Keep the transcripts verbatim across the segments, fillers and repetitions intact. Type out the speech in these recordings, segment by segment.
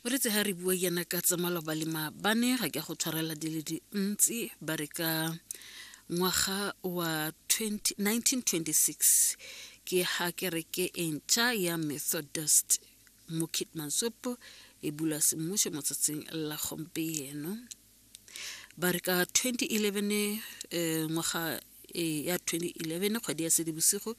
Boretse ha re bua yana ka tsa maloba le maabane, ga ke go tshwarela di le dintsi. Ba re ka ngwaga wa nineteen twenty-six ke ha kereke e ntšha ya Methodist mo Keetmanshoop e bula semmušo mo tsatsing la gompieno. Ba re ka twenty eleven, eh, ngwaga e ya twenty eleven kgwedi ya Seetebosigo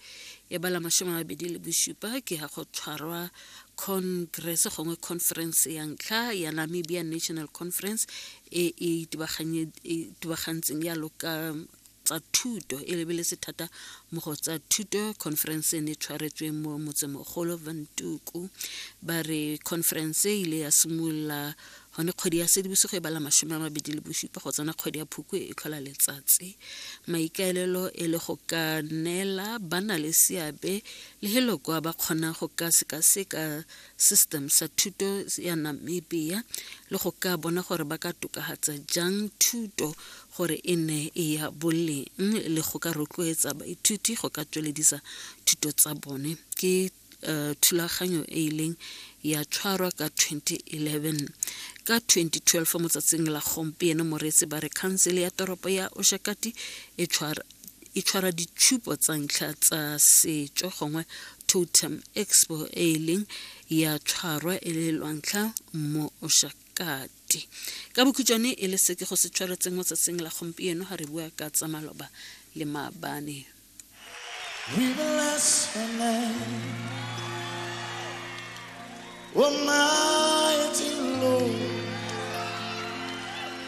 e bala mashome a mabedi le bosupa ke ha go tshwarwa congress gongwe conference ya ntlha ya Namibia National Conference e e itebagantseng yalo ka tsa thuto, e lebeletse thata mo go tsa thuto. Conference e ne tshwaretswe mo motsemogolo Windhoek. Ba re conference e ile ya simolola gone kgwedi ya Seetebosigo e bala mashome a mabedi le bosupa go tsena kgwedi ya Phukwi e tlhola letsatsi. Maikaelelo e le go ka neela ba na le seabe le heloko ba kgona go ka sekaseka system sa thuto ya Namibia le go ka bona gore ba ka tokafatsa jang thuto gore e nne e ya boleng le go ka rotloetsa baithuti go ka tsweledisa thuto tsa bone. Ke uh, thulaganyo e ileng ya tshwarwa ka twenty eleven. Ka twenty twelve mo tsatsing la gompieno moreetsi ba re khansele ya toropo ya Oshakati e tshwara e tshwara ditshupo tsa ntlha tsa setso gongwe Totem Expo e ileng ya tshwarwa e le lwantlha mo Oshakati. Ka bokhutshwane e le se ke go se tshwaretseng mo tsatsing la gompieno ha re bua ka tsa maloba le maabane. We bless your name, Almighty Lord.